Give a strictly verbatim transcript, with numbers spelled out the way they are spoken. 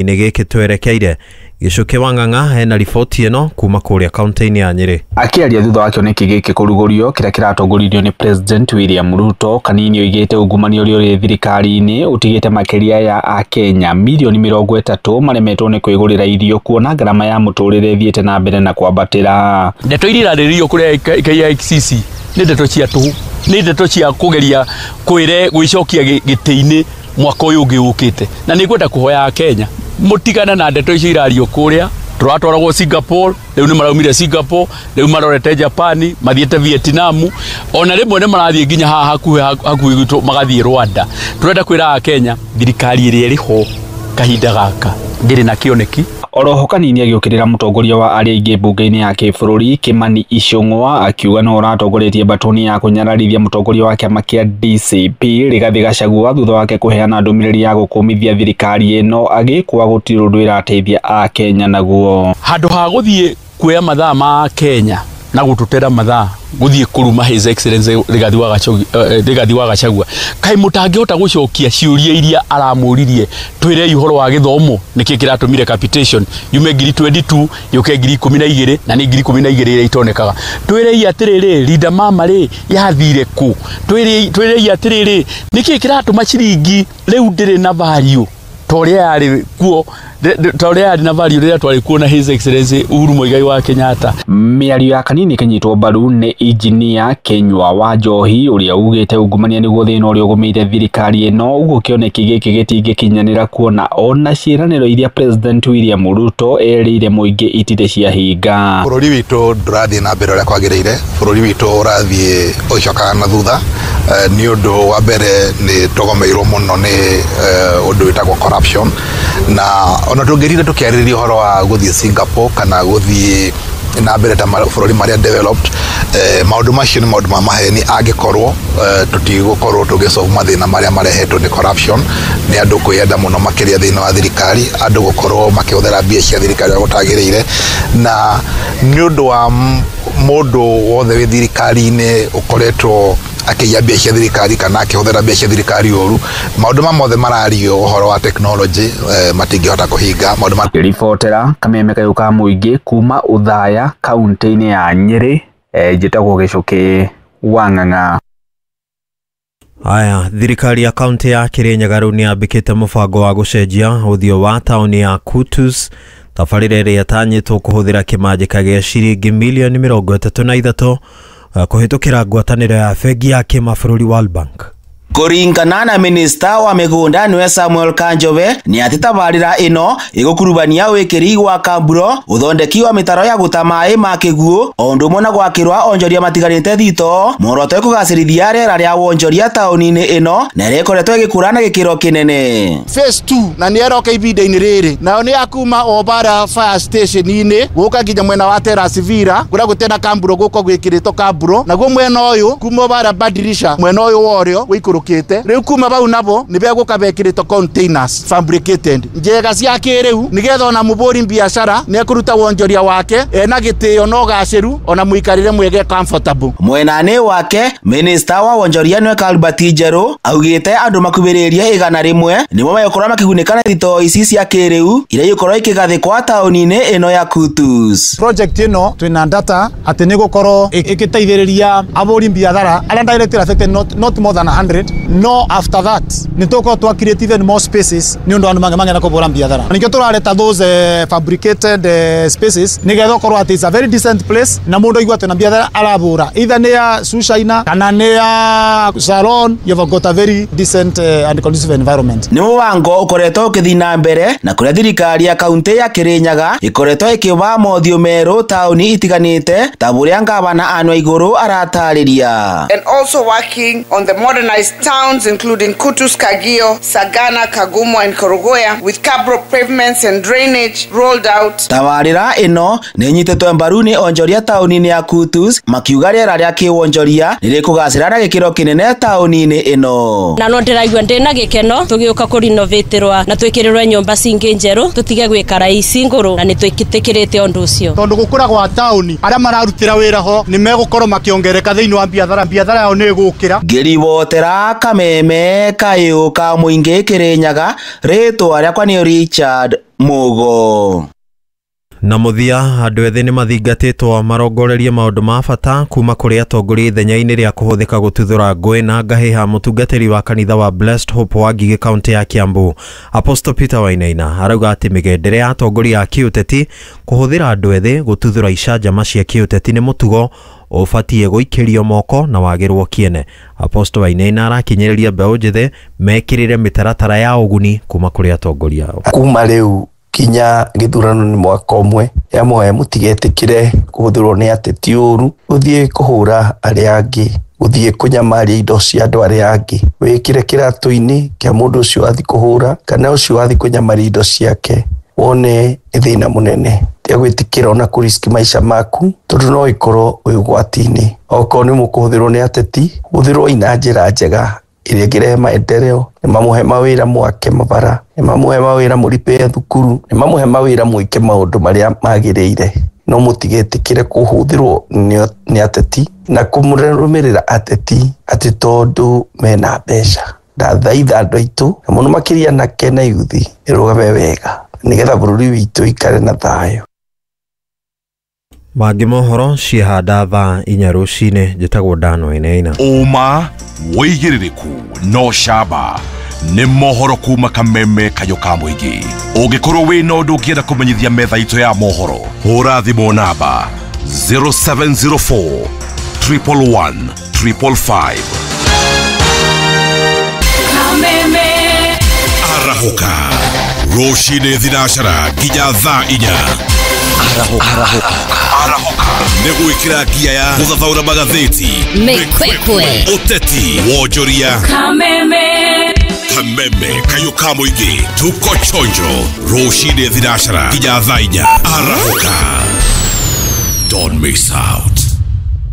Inĩ gĩkĩ twerekeire Gĩcũkĩ wa Ng'ang'a hena riboti ĩno kuma kũrĩa kaunti-inĩ ya Nyĩrĩ. Akĩaria thutha wa kĩoneki gĩkĩ kũrugũrio kĩrĩa kĩratongoririo nĩ President William Ruto, Kanini oigĩte ungumania ũrĩa ũrĩ thirikari-inĩ ũtigĩte makĩria ya akenya mirioni mĩrongo ĩtatũ maremetwo nĩ kwĩgũrĩra irio kuona ngarama ya mũtũrĩre ĩthiĩte na mbere na kwambatĩra. Ndeto iria irarĩrĩrio kũrĩa K I C C nĩ ndeto cia tũhũ, nĩ ndeto cia kũgeria kwĩre gwĩcokia gĩtĩ-inĩ mwaka ũyũ ũngĩ ũkĩte, na nĩ ngwenda kũhoya Akenya mũtigane na ndeto icio irario kũrĩa. Tũratwaragwo Singapore, rĩu nĩ maraumire Singapore, rĩu marorete Japan, mathiĩte Vietnam, ona rĩmwe nĩ marathiĩ nginya haha hakuhĩ hakuhĩ gwitũ magathiĩ Rwanda. Tũrenda kwĩra Akenya thirikari ĩrĩa ĩrĩ ho kahinda gaka ndĩrĩ na kĩoneki. Oroho Kanini agĩũkĩrĩra mũtongoria wa arĩa aingĩ mbunge-inĩ ya kĩbũrũri Kimani Ichung'wa, akiuga no ũratongoretie mbatoni ya kũnyararithia mũtongoria wa kĩama kĩa D C P Rigathĩ Gachagua thutha wake kũheana ndũmĩrĩri ya gũkũmithia thirikari ĩno agĩkwa gũtirĩ ũndũ ĩrateithia akenya naguo. Handũ ha gũthiĩ kuoya mathaa ma Kenya na gũtũtera mathaa gũthiĩ kũruma His Excellency Rigathi wa Gachagua, Rigathi wa Gachagua, kaĩ mũtangĩhota gũcokia ciũria iria aramũririe? Twĩrei ũhoro wa gĩthomo, nĩkĩ kĩratũmire capitation yume ngiri mĩrongo ĩĩrĩ na igĩrĩ yũke ngiri ikũmi na igĩrĩ, na nĩ ngiri ikũmi na igĩrĩ iria itonekaga? Twĩrei atĩrĩrĩ, Linda Mama rĩ, yathire kũ? Twĩrei twĩrei atĩrĩrĩ, nĩkĩ kĩratũma ciringi rĩu ndĩrĩ na value ta ũrĩa yarĩ kuo, ta ũrĩa yarĩ na value rĩrĩa twarĩ kuo na His Excellency Uhuru Muigai wa Kenyatta? Mĩario ya Kanini ĩkĩnyitwo mbaru nĩ injinia Kinyua wa Njohi ũrĩa ugĩte ungumania nĩguo thĩna ũrĩa ũgũmĩire thirikari ĩno, ũguo kĩoneki gĩkĩ gĩtingĩkinyanĩra kuona ona ciĩranĩro iria President William Ruto erĩire mũingĩ itirĩ ciahinga. Bũrũri witũ ndũrathiĩ na mbere ũrĩa kwagĩrĩire. Bũrũri witũ ũrathiĩ ũgĩcokaga na thutha nĩ ũndũ wa mbere nĩ tũgomeirwo mũno nĩ ũndũ wĩtagwo corruption, na ona tũngĩrire tũkĩarĩrĩria ũhoro wa gũthiĩ Singapore kana gũthiĩ na mbere ta bũrũri marĩa developed, eh, maũndũ macio nĩ maũndũ ma maheni angĩkorwo eh, tũtigũkorwo tũgĩsolve mathĩna marĩa marehetwo nĩ corruption, nĩ andũ kwĩyenda mũno makĩria thĩinĩ wa thirikari, andũ gũkorwo makĩhũthĩra mbia cia thirikari ũrĩa gũtagĩrĩire, na nĩ ũndũ wa mũndũ wothe wĩ thirikari-inĩ ũkoretwo akĩiya mbia cia thirikari kana akĩhũthĩra mbia cia thirikari ũru. Maũndũ ma mothe marario ũhoro wa technology eh, matingĩhota kũhinga maũndũ ma Ribotera kameme kayũ ka mũingĩ kuma Othaya kaunti-inĩ ya Nyĩrĩ, eh, njĩtagwo Gĩcũkĩ wa Ng'ang'a. Aya, thirikari ya kaunti ya Kirinyaga rĩu nĩ yambĩkĩte mũbango wa gũcenjia ũthiũ wa taũni ya Kutus, tabarĩra ĩrĩa ĩtanyĩtwo kũhũthĩra kĩmanjĩka gĩa ciringi milioni mĩrongo ĩtatũ na ithatũ kũhĩtũkĩra ngwatanĩro ya bengi ya kĩmabũrũri World Bank. Kũringana na minista wa mĩgũnda nĩwe Samuel Kanjobe, nĩ atĩ tabarĩra ĩno ĩgũkurubania wĩkĩri wa kamburo, ũthondeki wa mĩtaro ya gũta maĩ ma kĩguũ, o ũndũ ũmwe na gwakĩrwa onjoria matigarĩte thito, muoroto ĩkũgacĩrithia rĩera rĩa wonjoria taũni-inĩ ĩno na ĩrĩa ĩkoretwo ĩgĩkũra na gĩkĩro kĩnene. Phase two na nĩ ĩroka ihinda-inĩ rĩrĩ, nayo nĩ ya kuma o bara fire station-inĩ gũka nginya mwena wa Terrace Villa kũrĩa gũtena kamburo, gũka gwĩkĩrĩtwo kamburo, naguo mwena ũyũ kuma bara badirisha mwena ũyũ wa ũrĩo wĩikũrũkĩte rĩu kuma bau nabo nĩ begũka bekĩrĩtwo containers fabricated njega cia kĩrĩu, nĩgetha ona mũbũri biacara nĩ ekũruta wonjoria wake ena gĩtĩo na ũgacĩru ona mũikarĩre mwege comfortable. Mwena-inĩ wake, minista wa wonjoria nĩwe Albert Njerũ augĩte andũ makuhĩrĩirie igana rĩmwe nĩmo megũkorwo makĩgunĩka na thitoo ici cia kĩrĩu iria igũkorwo ikĩgathĩkwa taũni-inĩ ĩno ya Kutus. Project ĩno twĩna data atĩ nĩ gũkorwo ĩgĩteithĩrĩria ahũri biathara arĩa directly affected, not, not more than a hundred. No after that nĩ tũgũkorwo twa create even more spaces nĩ ũndũ andũ mangĩ kũbũra biathara. Nĩkĩo tũrareta those uh, fabricated uh, spaces, nĩgetha ũkorwo atĩ it's a very decent place na mũndũ aigua atĩ na biathara arabũra, either nĩ ya shoe shiner kana nĩ ya salon, you've got a very decent uh, and conducive environment. Nĩ mũbango ũkoretwo ũkĩthiĩ na mbere na kũrĩa thirikari ya kaunti ya Kirinyaga ĩkoretwo ĩkĩũmba mothiũ merũ taũni itiganĩte ta ũrĩa ngavana Anne Waigũrũ aratarĩria. And also working on the modernized towns including Kutus, Kagio, Sagana, Kagumo and Kerugoya with cabro pavements and drainage rolled out. Tabarĩra ĩno nĩ ĩnyitĩtwo mbaru nĩ onjoria taũni-inĩ ya Kutus, makiuga rĩera rĩa kĩwonjoria nĩ rĩkũgacĩra na gĩkĩro kĩnene taũni-inĩ ĩno. Na no ndĩraigua ndĩna gĩkeno tũgĩũka kũrinovatĩrwa na twĩkĩrĩrwo nyũmba cingĩ njerũ, tũtige gwĩkara ici ngũrũ, na nĩ twĩtĩkĩrĩte ũndũ ũcio. Tondũ gũkũra gwa taũni, arĩa mararutĩra wĩra ho nĩ megũkorwo makĩongereka thĩinĩ wa biathara, biathara yao nĩ ĩgũkĩra. Ngĩribotera Kuma Kameme Kayũ ka Mũingĩ Kĩrĩnyaga, rĩtwa rĩakwa nĩ Richard Mugo. Na mũthia, andũ ethĩ nĩ mathingatĩtwo marongorerie maũndũ ma bata kuma kũrĩ atongoria ithenya-inĩ rĩa kũhũthĩka gũtuthũra ngũĩ na ngahĩha. Mũtungatĩri wa kanitha wa Blessed Hope wa Ngigĩ kaunti ya Kiambu, Apostle Peter Wainaina, arauga atĩ mĩgendere ya atongoria a kĩũteti kũhũthĩra andũ ethĩ gũtuthũra icanjama cia kĩũteti nĩ mũtugo ũbatiĩ gũikĩrio moko na wagĩrwo kĩene. Apostle Wainaina arakinyĩrĩria mbeũ njĩthĩ mekĩrĩre mĩtaratara ya ũguni kuma kũrĩ atongoria ao. Kuma rĩu kinya gĩthurano nĩ mwaka ũmwe, yamoya mũtigetĩkĩre kũhũthĩrwo nĩ ateti ũru, gũthiĩ kũhũra arĩa angĩ, gũthiĩ kũnyamaria indo cia andũ arĩa angĩ, wĩkĩre kĩratũ-inĩ kĩa mũndũ ũcio wathiĩ kũhũra kana ũcio wathiĩ kũnyamaria indo ciake, wone nĩ thĩna mũnene. Tiga gwĩtĩkĩra ona kũriski maica maku tondũ no ĩkorwo wĩ ũgwati-inĩ. Okorwo nĩ mũkũhũthĩrwo nĩ ateti, hũthĩrwo na njĩra njega ĩrĩa ĩngĩrehe maendeleo. Nĩ mamũhe mawĩra mwake mabara, nĩ mamũhe mawĩra mũripĩre thukuru, nĩ mamũhe mawĩra mwĩke maũndũ marĩa magĩrĩire, no mũtigetĩkĩre kũhũthĩrwo nĩ ateti na kũmũrũmĩrĩra ateti atĩ tondũ mena mbeca. Ndathaitha andũ aitũ na mũno makĩria anake na yuthi ĩrũgame wega nĩgetha bũrũri witũ ikare na thayũ. Mangĩ mohoro ciehanda thaa inya rũcinĩ. Njĩtagwo Dan Wainaina. Ũma wĩigĩrĩrĩku no camba nĩ mohoro kuma Kameme Kayũ ka Mũingĩ. Ũngĩkorwo wĩna ũndũ ũngĩenda kũmenyithia metha itũ ya mohoro, hũra thimũ namba zero seven zero four triple one triple five. Kameme arahũka rũcinĩ thinacara nginya thaa inya. Arahũka arahũka nĩ gwĩkĩra ngia ya gũthathaũra magathĩti, mĩkwekwe, ũteti, wonjoria. Kameme Kameme Kayũ ka Mũingĩ, tuko chonjo rũcinĩ thinacara nginya thaa inya. Arahũka, don't miss out.